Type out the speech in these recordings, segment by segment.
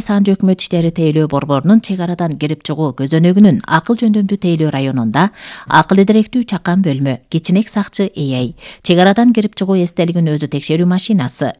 Санжы өкмөт иштери тейлөө борборунун чек арадан кирип чыгуу көзөнөгүнүн акыл жөндөмдүү тейлөө районунда акыл эдеректүү чакан бөлмө, кичинек сакчы ЭАй, чек арадан кирип чыгуу эстелигин өзү текшерүү машинасы,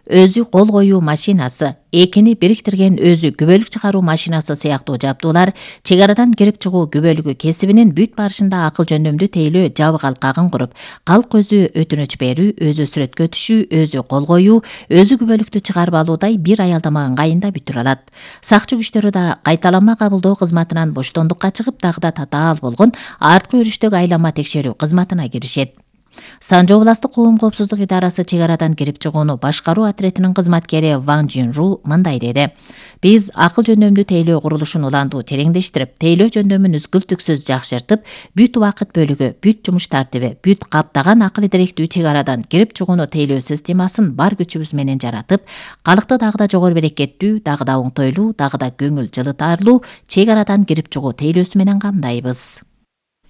өзү кол коюу машинасы, экини бириктирген өзү күбөлүк чыгаруу машинасы сыяктуу жабдуулар чек арадан кирип чыгуу күбөлүгү кесибинин бүт барышында акыл жөндөмдүү тейлөө жабык алкагын куруп, калк өзү өтүнүч берүү, өзү сүрөткө түшүү, өзү кол коюу, өзү күбөлүктү чыгарып алуудай бир аялдама ыңгайында бүтүрө алат. Сакчы күчтөрү да кайталанма кабылдоо кызматынан боштондукка чыгып, дагы да татаал болгон арткы өрүштөгү айланма текшерүү кызматына киришет. Санжы областык коом коопсуздук идарасы чек арадан кирип чыгууну башкаруу отрядынын кызматкери Ван Жинру мындай деди. Биз акыл жөндөмдүү тейлөө курулушун улантуу тереңдештирип, тейлөө жөндөмүн үзгүлтүксүз жакшыртып, бүт убакыт бөлүгү, бүт жумуш тартиби, бүт каптаган акыл эдеректүү чек арадан кирип чыгууну тейлөө системасын бар күчүбүз менен жаратып, калкты дагы да жогору берекеттүү, дагы да оңтойлуу, дагы да көңүл жылытарлуу чек арадан кирип чыгуу тейлөөсү менен камдайбыз.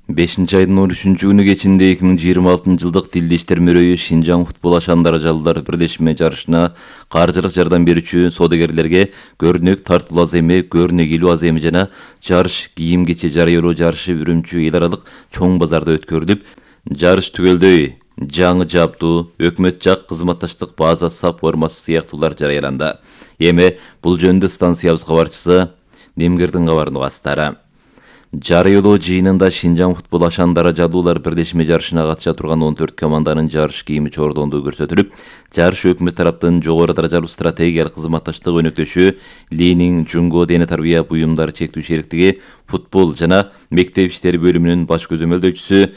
5-айдын 13-күнү кечинде 2026-жылдык Тилди иштер мөрөйү Шинжаң футбол ашаандары жалдылар бирлешме жарышына каржылык жардам берүүчү соодагерлерге көрүнөк тартылуу аземи, көрүнөк илүү аземи жана жарыш кийим кече жарыялоо жарышы Үрүмчү эл аралык чоң базарда өткөрүлүп, жарыш түгөлдөй жаңы жабдуу, өкмөт жак кызматташтык база сап формасы сыяктуулар жарыяланды. Эми бул жөнүндө станциябыз кабарчысы Немгердин кабарын угасыздар. Жарыялоо жыйынында Шинжаң футбол ашаандары жалдуулар бирлешме жарышына катыша турган 14 команданын жарыш кийими чордондугу көрсөтүлүп, жарыш өкмөт тараптын жогору даражалуу стратегиялык кызматташтык өнөктөшү Ленин Жунго дене тарбия буюмдары чектүү шериктиги футбол жана мектеп иштери бөлүмүнүн баш көзөмөлдөөчүсү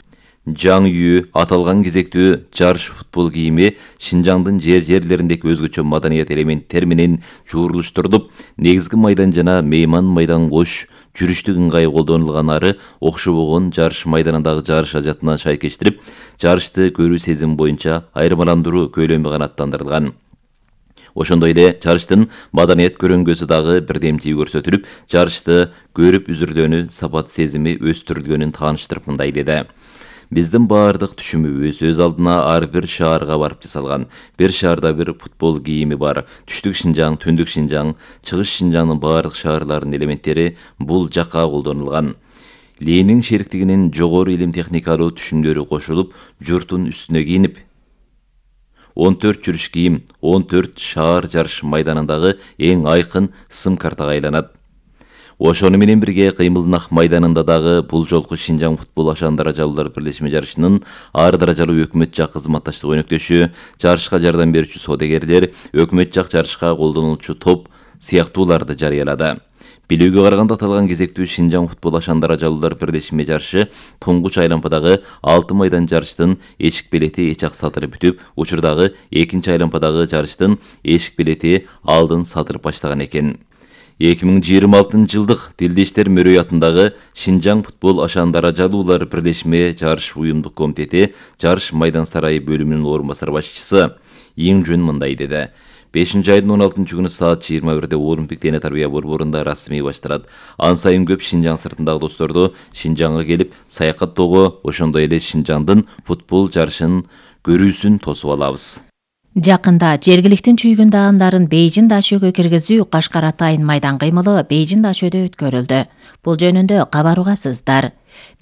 Жаң Ю аталган кезектүү жарыш футбол кийими Шинжаңдын жерлериндеги өзгөчө маданият элементтер менен жуурулуштурулуп, негизги майдан жана мейман майдан кош жүрүштүк ыңгай колдонулган окшобогон жарыш майданындагы жарыш ажатына шайкештирип, жарышты көрүү сезим боюнча айырмаландыруу көйлөмү канааттандырылган. Ошондой эле жарыштын маданият көрөңгөсү дагы бирдемчиги көрсөтүлүп, жарышты көрүп үзүрдөөнү сапат сезими өстүрүлгөнүн тааныштырып мындай деди. Биздин баардык түшүмүбүз өз алдына ар бир шаарга барып жасалган. Бир шаарда бир футбол кийими бар. Түштүк Шинжаң, Түндүк Шинжаң, Чыгыш Шинжаңдын баардык шаарларынын элементтери бул жакка колдонулган. Ленин шериктигинин жогору илим техникалуу түшүмдөрү кошулуп, журттун үстүнө кийинип, 14 жүрүш кийим 14 шаар жарыш майданындагы эң айкын сым картага айланат. Ошону менен бирге Кыймылнак майданында дагы бул жолку Шинжаң футбол ашаандары жалдуулар бирлешме жарышынын ар даражалуу өкмөт жак кызматташтык өнөктөшү, жарышка жардам берүүчү соодагерлер, өкмөт жак жарышка колдонулчу топ сыяктууларды жарыялады. Билүүгө караганда аталган кезектүү Шинжаң футбол ашаандары жалдуулар бирлешме жарышы туңгуч айлампадагы 6 майдан жарыштын эшик белети эч ак сатырып бүтүп, учурдагы 2-чи айлампадагы жарыштын эшик белети алдын сатырып баштаган экен. 2026-жылдык Тилди иштер мөрөйү атындагы Шинжаң футбол ашаандары жалдуулар бирлешме жарыш уюмдук комитети жарыш майдан сарайы бөлүмүнүн орун басар башчысы Иң Жөн мындай деди. 5-айдын 16-күнү саат 21-де Олимпик дене тарбия борборунда расмий башталат. Ан сайын көп Шинжаң сыртындагы досторду Шинжаңга келип саякаттоого, ошондой эле Шинжаңдын футбол жарышын көрүүсүн тосуп алабыз. Жакында жергиликтин чүйгүн даамдарын Бейжин дашөөгө киргизүү Кашкар атайын майдан кыймылы Бейжин дашөөдө өткөрүлдү. Бул жөнүндө кабар угасыздар.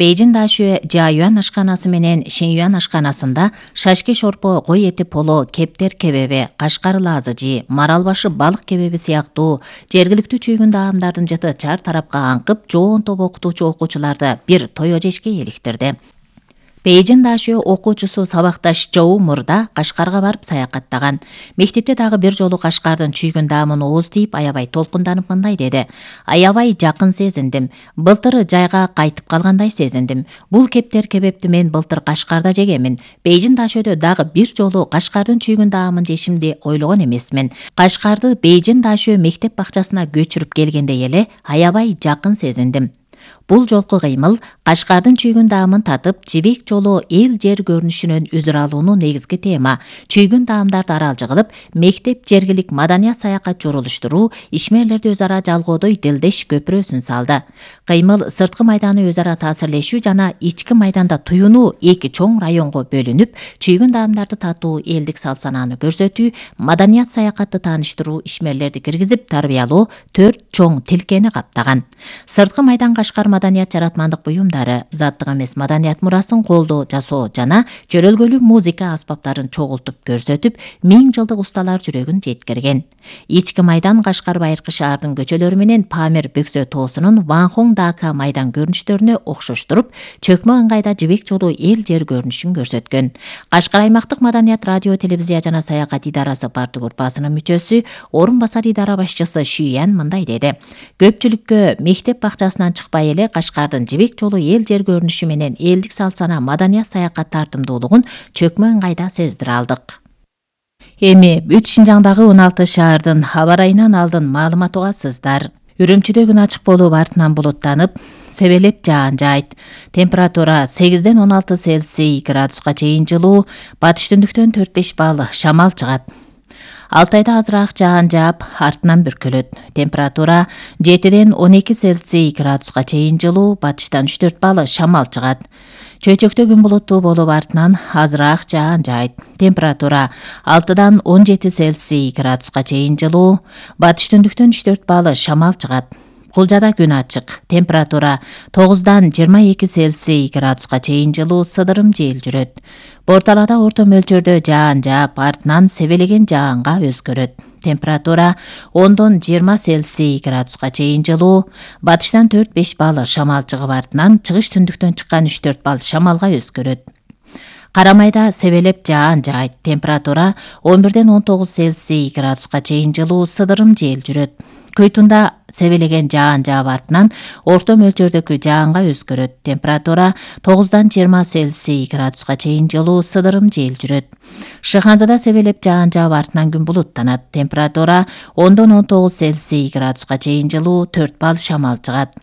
Бейжин дашөө Жаюан ашканасы менен Шенюан ашканасында шашке шорпо, кой эти поло, кептер кебеби, Кашкар лазыжи, марал башы балык кебеби сыяктуу жергиликтүү чүйгүн даамдардын жыты чар тарапка аңкып, жоон топ окутуучу окуучуларды бир той жешке эликтирди. Бейжин дашөө окуучусу сабакташ Жоу Мурда Кашкарга барып саякаттаган. Мектепте дагы бир жолу Кашкардын чүйгүн даамын ооз тийип, аябай толкунданып мындай деди. Аябай жакын сезиндим. Былтыр жайга кайтып калгандай сезиндим. Бул кептер кебепти мен былтыр Кашкарда жегемин. Бейжин дашөөдө дагы бир жолу Кашкардын чүйгүн даамын жешимди ойлогон эмесмин. Кашкарды Бейжин дашөө мектеп бакчасына көчүрүп келгенде эле аябай жакын сезиндим. Бул жолку кыймыл Кашкардын чүйгүн даамын татып, жибек жолу эл жер көрүнүшүнөн үзүр алууну негизги тема. Чүйгүн даамдарды аралжы кылып, мектеп жергилик маданият саякат журулуштуруу, ишмерлерди өз ара жалгоодой делдеш көпүрөсүн салды. Кыймыл сырткы майданы өз ара таасирлешүү жана ички майданда туюнуу эки чоң районго бөлүнүп, чүйгүн даамдарды татуу, элдик салт-санааны көрсөтүү, маданият саякатты тааныштыруу, ишмерлерди киргизип тарбиялоо 4 чоң тилкени каптаган. Сырткы майдан Кашкар маданият жаратмандык буюмдары, заттык эмес маданият мурасын колдоо жасоо жана жөрөлгөлүү музыка аспаптарын чогултуп көрсөтүп, 1000 жылдык усталар жүрөгүн жеткирген. Ички майдан Кашкар байыркы шаардын көчөлөрү менен Памир Бөксө тоосунун Ванхун Дака майдан көрүнүштөрүнө окшоштуруп, чөкмө ыңгайда жибек жолу эл жер көрүнүшүн көрсөткөн. Кашкар аймактык маданият радио, телевизия жана саякат идарасы парты группасынын мүчөсү, орун басар идара башчысы Шүйян мындай деди: көпчүлүккө мектеп бакчасынан чыкпай эле Кашкардын жибек жолу эл жер көрүнүшү менен элдик салт-сана маданият саякат тартымдуулугун чөкмө ыңгайда сездире алдык. Эми бүт Шинжаңдагы 16 шаардын аба ырайынан алдын маалымат угасыздар. Үрүмчүдө күн ачык болуп, артынан булуттанып, себелеп жаан жайт. Температура 8ден 16 Цельсий градуска чейин жылуу, батыш түндүктөн 4-5 балл шамал чыгат. Алтайда азыраак жаан жаап, артынан бүркөлөт. Температура 7ден 12 Цельсий градуска чейин жылуу, батыштан 3-4 балл шамал чыгат. Чөйчөктө күн булуттуу болуп, артынан азыраак жаан жайт. Температура 6дан 17 Цельсий градуска чейин жылуу, батыш түндүктөн 3-4 балл шамал чыгат. Кулжада күн ачык. Температура 9дан 22 Цельсий градуска чейин жылуу, сыдырым жел жүрөт. Борталада орто мөлчөрдө жаан жаап, артынан себелеген жаанга өзгөрөт. Температура 10дон 20 Цельсий градуска чейин жылуу, батыштан 4-5 балл шамал чыгып, артынан чыгыш түндүктөн чыккан 3-4 балл шамалга өзгөрөт. Карамайда себелеп жаан жайт. Температура 11ден 19 Цельсий градуска чейин жылуу, сыдырым жел жүрөт. Көйтүндө себелеген жаан жаап, артынан орто мөлчөрдөгү жаанга өзгөрөт. Температура 9дан 20 Цельсий градуска чейин жылуу, сыдырым жел жүрөт. Шыханзада себелеп жаан жаап, артынан күн булуттанат. Температура 10дон 19 Цельсий градуска чейин жылуу, 4 балл шамал чыгат.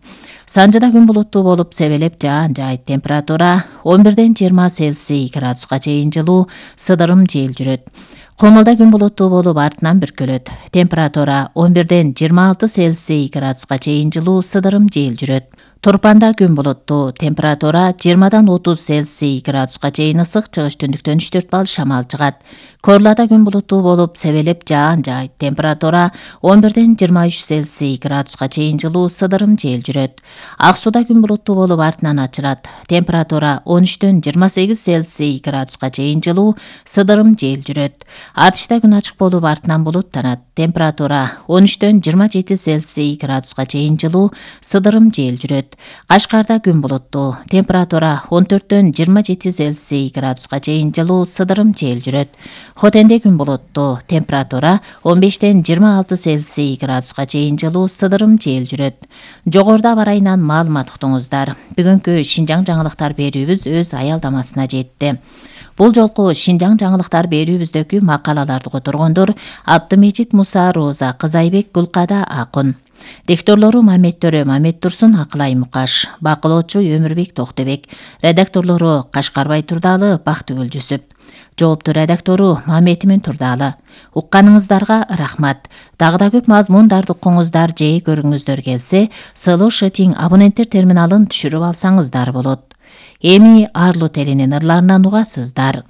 Санжыда күн булуттуу болуп, себелеп жаан жайт. Температура 11ден 20 Цельсий градуска чейин жылуу, сыдырым жел жүрөт. Комулда күн булуттуу болуп, артынан бүркөлөт. Температура 11ден 26 Цельсий градуска чейин жылуу, сыдырым жел жүрөт. Турпанда күн булуттуу. Температура 20дан 30 Цельсий градуска чейин ысык, чыгыш түндүктөн 3-4 балл шамал чыгат. Корлада күн булуттуу болуп, себелеп жаан жайт. Температура 11ден 23 Цельсий градуска чейин жылуу, сыдырым жел жүрөт. Ак сууда күн булуттуу болуп, артынан ачырат. Температура 13дөн 28 Цельсий градуска чейин жылуу, сыдырым жел жүрөт. Артышта күн ачык болуп, артынан булуттанат. Температура 13дөн 27 Цельсий градуска чейин жылуу, сыдырым жел жүрөт. Кашкарда күн булуттуу. Температура 14дөн 27 Цельсий градуска чейин жылуу, сыдырым жел жүрөт. Хотенде күн булуттуу. Температура 15ден 26 Цельсий градуска чейин жылуу, сыдырым жел жүрөт. Жогоруда аба ырайынан маалымат уктуңуздар. Бүгүнкү Шинжаң жаңылыктар берүүбүз өз аялдамасына жетти. Бул жолку Шинжаң жаңылыктар берүүбүздөгү макалаларды которгондор Абдымежит Муса, Роза Кызайбек, Гүлкада Акун. Дикторлору Мамет Төрө, Мамет Турсун, Акылай Мукаш. Бакылоочу Өмүрбек Токтебек. Редакторлору Кашкарбай Турдалы, Бактыгүл Жүсүп. Жоопту редактору Маметимин Турдалы. Укканыңыздарга рахмат. Дагы да көп мазмундарды укуңуздар же көрүңүздөр келсе, Сылуу Шытиң абоненттер терминалын түшүрүп алсаңыздар болот. Эми Арлу телинин ырларынан угасыздар.